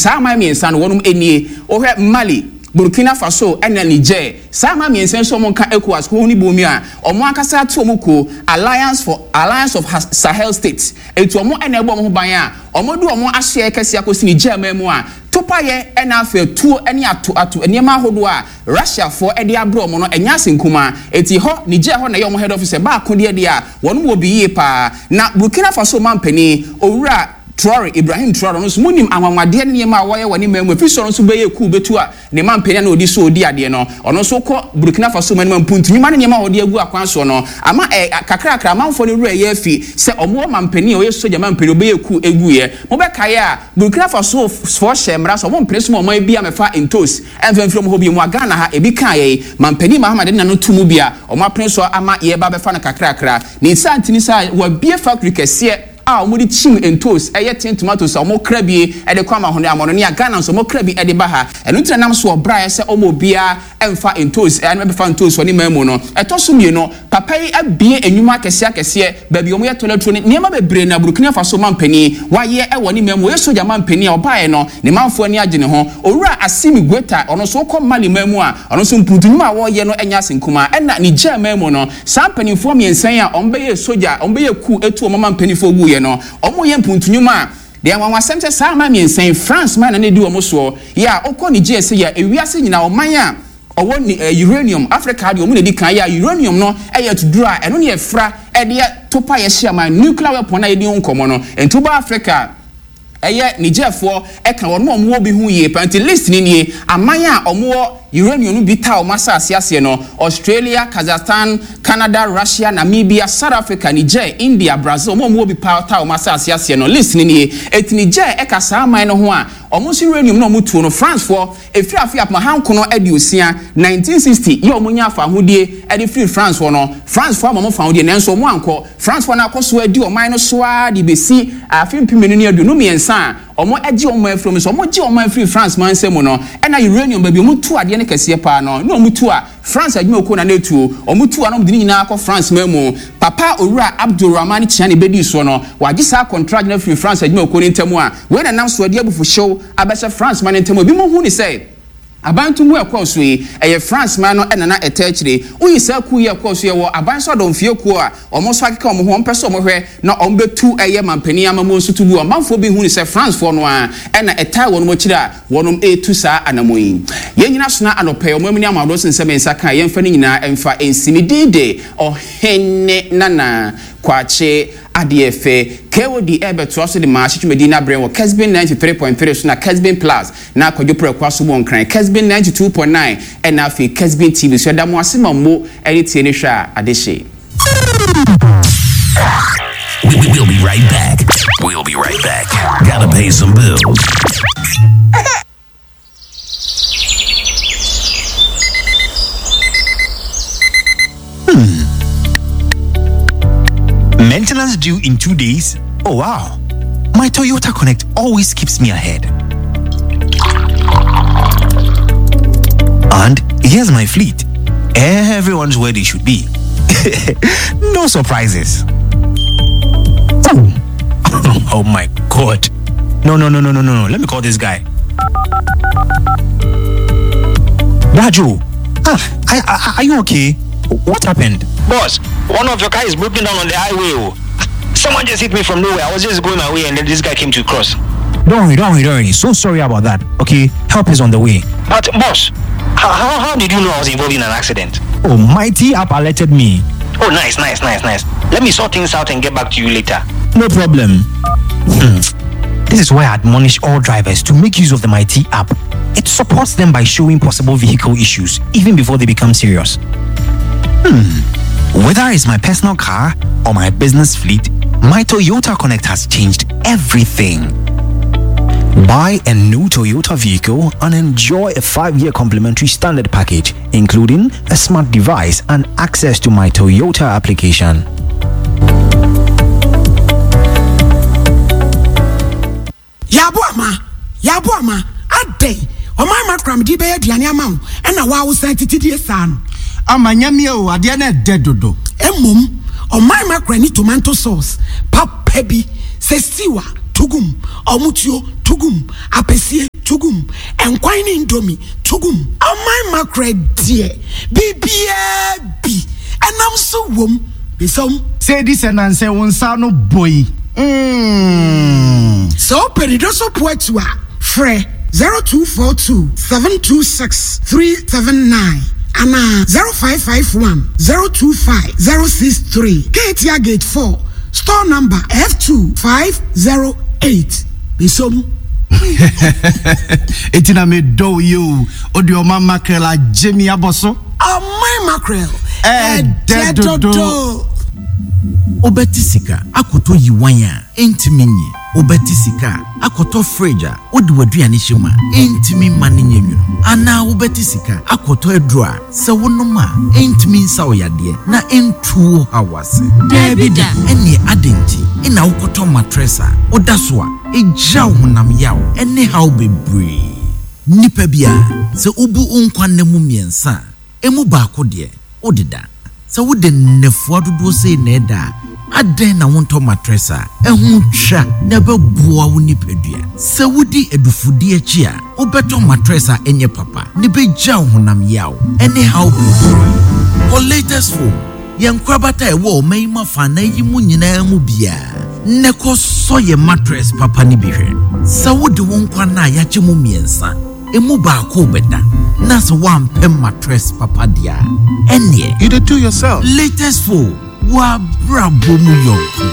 saa aman mmiɛnsa no wɔnom nie. Wohwɛ Mali, Burkina Faso ɛna Niger. Saa aman mmiɛnsa yi nso wɔn nka ECOWAS kuo no bom yi a wɔn ankasa ato wɔn kuo Alliance for Alliance of Sahel States. Enti wɔn na ɛbɔ wɔn ho ban a wɔde wɔn asoɛeɛ kɛseɛ akɔsi Niger man mu a topaeɛ ɛna afei atuo ne ato ato nneɛma ahodoɔ a Russiafoɔ de abrɛ wɔn no ɛnyɛ ase nkumaa. Enti hɔ Niger hɔ na ɛyɛ wɔn head office ɛba akodeɛ deɛ a wɔn wɔ bi yie paa. Na Burkina Faso manpanin Owura Traore, Ibrahim Traore, ɔno nso monim anwanwadeɛ ne nneɛma a wɔyɛ wɔ ne man mu ɛfiri sɛ ɔno nso bɛyɛ coup bɛtu a ne manpanin a na ɔdi so ɔredi adeɛ no, ɔno nso kɔ Burkina Faso man mu a mpuntu nnwuma ne nneɛma a wɔde agu akwan soɔ no ama ɛ, kakrakra amanfoɔ no werɛ reyɛ afi sɛ wɔwɔ manpanin a ɔyɛ sogya manpanin a ɔbɛyɛ coup guiɛ. Mobɛkae a, Burkina Faso foɔ hyɛɛ mmara sɛ wɔmpene so ma ɔman biara mmɛfa ntos mfa mfiri wɔn hɔ bio mu a Ghana ha ebi kaa yɛn manpanin Mahama de n'ano to mu bi a wɔapene so ama yɛreba abɛfa no kakrakra. Ne saa nti ne saa wɔabue factory kɛseɛ a wɔde kyim ntos, ɛyɛ tin tomatoes a wɔkra bi de kɔ amahone amɔnɔne a Ghana nso wɔkra bi de ba ha. Ɛno nti na nam so ɔbraeɛ sɛ ɔma obiara mfa ntos ɛne bɛfa ntos wɔ ne man mu no. Ɛtɔ so mmienu, papa yi abue nnwuma akɛseɛ akɛseɛ, baabi a wɔyɛ toilet roll ne nneɛma bebree na Burkina Faso mampanin wayɛ wɔ ne man mu. Ɔyɛ sogya mampanin a ɔbaeɛ no, ne manfoɔ ani agye ne ho. Owura Assimi Goita, ɔno nso wokɔ Mali man mu a, ɔno nso mpuntu nnwuma a wɔreyɛ no nyɛ ase nkumaa. Ɛna Niger man mu no, Saa mpanimfoɔ mmiɛnsa yi a wɔbɛyɛɛ sogya a wɔbɛyɛɛ coup tuu wɔn ama mpanimfoɔ guiɛ no, wɔreyɛ mpuntu nnwuma a, deɛ anwanwasɛm sɛ saa aman mmiɛnsa yi, France man na na ɛdi wɔn soɔ, yɛ a wokɔ Niger sɛ yɛ a ewiase nyinaa ɔman a ɔwɔ ni eh, uranium, Africa ha deɛ wɔn na ɛdi kan, yɛ a uranium no yɛ atuduro a ɛno na yɛfra de yɛ topa yɛhye aman, nuclear weapon a yɛdi ho nkɔmmɔ no, nti woba Africa a, Ɛyɛ Nigerfoɔ ka wɔn a wɔwɔ bi ho yie paa nti list no nie, Aman a wɔwɔ uranium no bi taa wɔn asase aseɛ no, Australia, Kazakhstan, Canada, Russia, Namibia, South Africa, Niger, India, Brazil, wɔn a wɔwɔ bi paa taa wɔn asase aseɛ no, list no nie. Enti Niger ka saa aman no ho a wɔn nso uranium no a wɔtuo no, Francefoɔ, ɛfiri afe apem ahankono aduosia, 1960, yɛ a wɔnyaa fawohodie de firii France hɔ no, Francefoɔ ama wɔn fawohodie nanso wɔn ankɔ. Francefoɔ no akɔ so adi ɔman no so ara de bɛsi afe 2023 a wɔagye wɔn man afiri wɔn nsa. Wɔgye wɔn man firii France man nsa mu no, ɛna uranium, baabi a wɔtu adeɛ no kɛseɛ pa ara no, na wɔtu a, France adwumakuo na na ɛtuo. Wɔtu a na wɔde ne nyinaa kɔ France man mu. Papa Owura Abdourahamane Tchiani bɛdii soɔ no, wɔagye saa kɔntragye no afiri France adwumakuo no ntam a wei na ɛnam so de abufuhyew abɛhyɛ France man no ntam. Ebinom hu no sɛ aban ntomu a ɛkɔɔ so yi, ɛyɛ France man no na na ɛtaa akyire. Woyi saa kuw yi a ɛkɔɔ so yi, ɛwɔ aban so adɔmfeɛ kuo a wɔn nso akeka wɔn ho, wɔmpɛ sɛ wɔhwɛ na wɔbɛtu ɛyɛ manpanin amammuo nso to gu. Ɔmanfoɔ bi hu no sɛ Francefoɔ no ara na ɛtaa wɔn akyire a wɔnom retu saa anammɔn yi. Yɛn nyina sona anɔpa yi, ɔman mu ne amanɔdɔ sen sɛ me nsa ka a, yɛmfa ne nyinaa mfa nsi. Me din de Ɔhene Nana Kwakye Adeɛ fɛ. KOD rebɛtoa so de maahye dwumadi no abrɛ wɔ Kesbin 93.3 so na Kesbin Plus na Kwadwo Prɛko aso wɔ Nkran, Kesbin 92.9 ɛna afei Kesbin TV so. Yɛda mo ase ma mo ne tie ne hwɛ a adehye. We'll be right back. We'll be right back. Gotta pay some bills. Hmm. Maintenance due in two days? Oh wow. My Toyota Connect always keeps me ahead. And here's my fleet. Everyone's where they should be. no surprises. Oh. oh my god. No, no, no, no, no, no. Let me call this guy. Raju, ah, I, I, are you okay? What happened? Boss, one of your cars is broken down on the highway. Oh. Someone just hit me from nowhere. I was just going my way and then this guy came to cross. Don't worry, don't worry, don't worry. So sorry about that. Okay, help is on the way. But, boss, how, how, how did you know I was involved in an accident? Oh, Mighty app alerted me. Oh, nice, nice, nice, nice. Let me sort things out and get back to you later. No problem. Hmm. This is why I admonish all drivers to make use of the Mighty app. It supports them by showing possible vehicle issues even before they become serious. Hmm. Whether it's my personal car or my business fleet, my Toyota Connect has changed everything. Buy a new Toyota vehicle and enjoy a 5 year complimentary standard package, including a smart device and access to my Toyota application. Yɛabo ama, yɛabo ama, adɛn? Ɔman ma koraa mede bɛyɛ aduane ama wo, ɛna wo a wosan tete die saa no. Ama nyamie o, adeɛ no ɛdɛ dodo. Mmom, ɔman ma koraa ni tomanto sauce papa bi, sɛ stew a. to gu mu, ɔmotuo, to gu mu, apɛsie, to gu mu, nkwan ne indomie, to gu mu. Ɔman mackerel deɛ, biribiara bi, ɛnam nso wom. Mesɔm. Sɛ edi sɛ nansɛ wo nsa ano bɔ yi mm. Sɛ wopɛ nidoso po atu a, frɛ 0242 726 379 anaa 0551 025 063. Keetia Gate 4, Store number F2508. Mesɔm. Eti na medɔ wo yi o, wode ɔman mackerel agye me abɔ so. Ɔman mackerel, ɛdɛ dodo. Wobɛte sika akɔtɔ yiwan a ɛntumi nye. Wobɛte sika akɔtɔ fridge a wode w'aduane hyɛ mu a ɛntumi mma no nyɛ nwunu. Anaa wobɛte sika akɔtɔ aduro a sɛ wonom a ɛntumi nsa wo yadeɛ na ɛntu wo haw ase. Daabi da. Ɛnneɛ adɛn nti na wokɔtɔ matress a woda so a ɛgya wo honam yaw ne haw bebree? Nipa biara, sɛ wobu wo nkwa nna mu mmiɛnsa a, emu baako deɛ, wodeda. Sɛ wode nnafua dodoɔ sei na ɛda a, adɛn na wontɔ matress a ɛho twa na ɛbɛboa wo nipadua? Sɛ wodi adufudie akyi a, wobɛtɔ matress a ɛnyɛ papa na ɛbɛgya wo honam yaw ne haw bebree. Kɔ Latest Foam, yɛn nkorabata a ɛwɔ ɔman yi mu afanan yi mu nyinaa mu biara, na kɔsɔ yɛn matress papa no bi hwɛ. Sɛ wode wo nkwa nna a yɛakyɛ mu mmiɛnsa, emu baako rebɛda, na sɛ woampɛ matress papa deɛ a, ɛnneɛ. You dey do yourself. Latest Foam, w'abrabɔ mu yɔnko.